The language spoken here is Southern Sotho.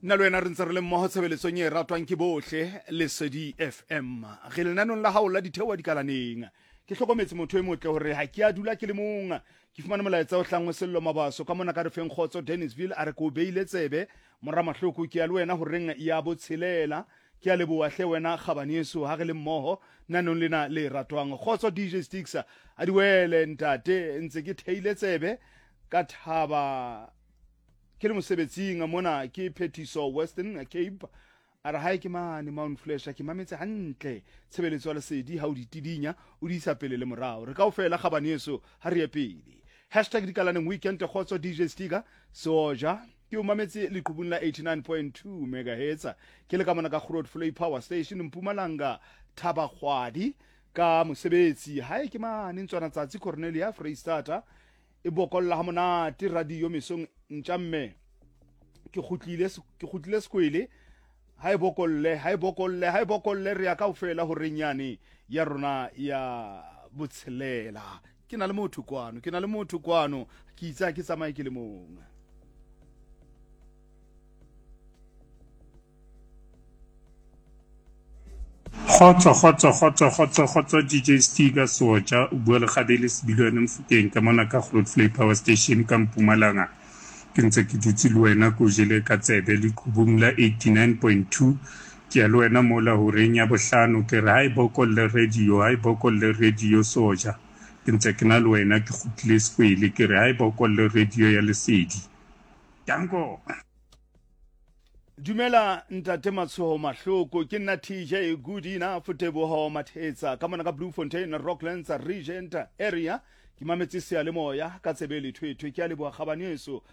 Nna le wena re ntse re le mmoho tshebeletsong e ratwang ke bohle, Lesedi FM. Re lenanong la hao la Ditheoha Dikalaneng. Ke hlokometse motho e motle hore ha ke a dula ke le mong. Ke fumane molaetsa o hlang ho Sello Mabaso ka mona ka re feng kgotso Dennisville a re ke o beile tsebe mora Mahloko ke ya le wena horeng ya botshelela. Ke a leboha hle wena kgabaneso ha re le mmoho nanong lena le ratwang. Kgotso DJ Sticks a di wele ntate ntse ke theile tsebe ka thaba Ke le mosebetsing mona ke Phethiso Western Cape. A re hae ke mane Mount Fletcher ke mametse hantle tshebeletso ya lesedi ha o di tidinya o di isa pele le morao. Re kaofela kgabaneso ha re ye pele. Hashtag dikalaneng weekend kgotso DJ Stiga Seoja ke o mametse leqhubung la 89.2 megahertz ke le ka mona ka Grootvlei Power Station Mpumalanga Thabakgwadi ka mosebetsi hae ke mane Ntswana Tsatsi Cornelia Freistata E bokolla ha monate radio mesong ntja mme ke kgutlile ke kgutlile sekwele ha e bokolle ha e bokolle ha e bokolle re ya kaofela horeng yane ya rona ya botshelela ke na le motho kwano ke na le motho kwano ke itse ha ke tsamaye ke le mong. Kgotso kgotso kgotso kgotso kgotso DJ Stiga Soja o bua le Gabele Sebilwane Mofokeng ka mona ka Grootvlei Power Station ka Mpumalanga ke ntse ke dutse le wena ko jele ka tsebe leqhubung la 89.2 ke ya le wena mola horeng ya bohlano ke re ha e bokolle radio ha e bokolle radio Soja ke ntse ke na le wena ke kgutlile sekwele ke re ha e bokolle radio ya lesedi danko. Dumela ntate Matshoho Mahloko, ke nna TJ Goodina Foteboho Mathetsa ka mona ka Bloemfontein Rocklands Regent area. Ke mametse seyalemoya ka tsebe lethwethwe. Ke a leboha kgabaneso.